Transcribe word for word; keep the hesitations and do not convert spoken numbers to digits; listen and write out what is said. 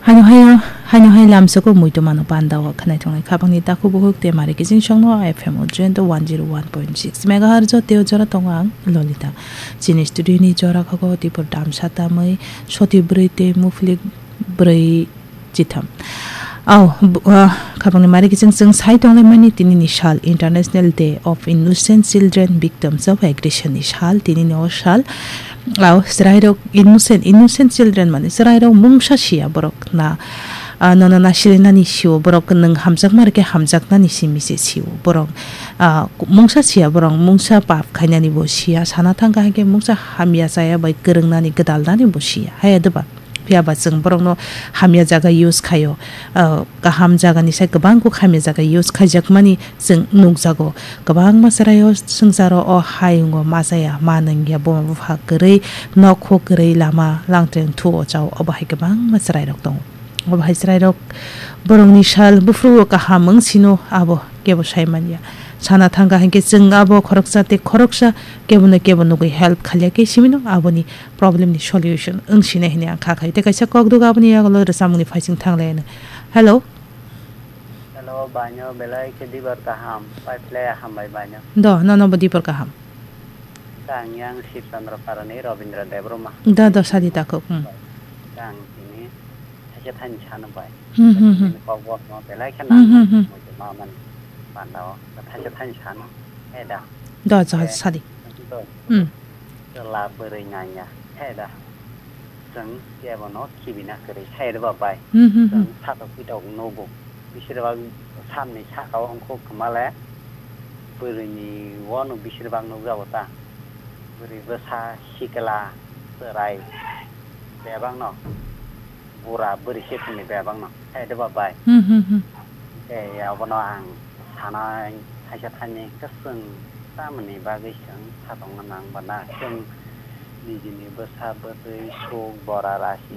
Haino hayo, haino hai lamsoko muitu mano panda o khwnai tongnai khabangni takhuk bukhuk te mari kiching songno F M o Jento one zero one point six megahertz o teo jora tongo ang Lolita. Chini studio ni jora khago tipur damsa tamwi soti bwrwi te muflik bwrwi chitham. Au, bu-, ah, khabangni mari kiching chwng sai tonglai mani tini ni sal International Day of Innocent Children Victims of Aggression ni sal tini ni o sal. Au, chwrairok innocent, innocent children mani chwrairok mungsa siya borok na, ah, nono na silinani sio borok nwng hamjakma rwkhe hamjaknani simi se sio borok, ah, mungsa siya borok mungsa pap khainani bo siya sana thangkha haikhe mungsa hamya chaya bai kwrwngnani gwdalnani bo siya hai adwba. Phiya ba chwng borokno hamya jaga use khaio, ah, kaham jagani sai kwbang kuk hamya jaga use khaijakmani chwng nukjago. Kwbangma chwraio swngcharo o hayungo ma chaya, ma nungya, buma bupha kwrwi, nokhok kwrwi, lama langtreng thu o chao, obo hai kwbangma chwrairok tongo. Obo hai chwrairok borokni sal buphuru o kaham wng sino abo kebo sai manya. Sana thangkha hinkhe chwng abo khoroksa tei khoroksa kebono kebo nugwi help khailya khe simino aboni problem ni solution wng sinai hinwi ang kha khai. Tei kaisa kokduk aboni yagulo rwchapmungni phaising thang lai ano. Hello. Hello, baino belai khe dibor kaham, paiphlai hambai baino. Do, nono bo dibor kaham. Kang yang Shiv Chandra Parani Robindra Debbarma. Da, do, sadi takhuk, hmm. Kang tini thaisa thaini sano bai. Hmm, hmm, hmm. Tini kok bosno belai khe Hmm, hmm, nang hmm. Muitu ma mani panda o thaisa thaini sano. He da. Do, jo, Eh, sadi. do. Hmm. Chwla bwrwi nangya, he da. Chwng kebono khibina kwrwi, he da ba bai. Hmm, hmm, hmm. Chwng satok pitok nugo. Bisir bak samni saka o wngkhu kwmale bwrwini wano bisir bak nukjago ta. Bwrwi bwsa sikla chwrai bebakno bura bwrwi se thumni bebakno, he da ba bai. Hmm, hmm, hmm. Tei abono ang sana thaisa thaini hwnkhe chwng tamoni bagwi chwng satokna nang ba na chwng nijini bwsa bwtwi suk bora rasi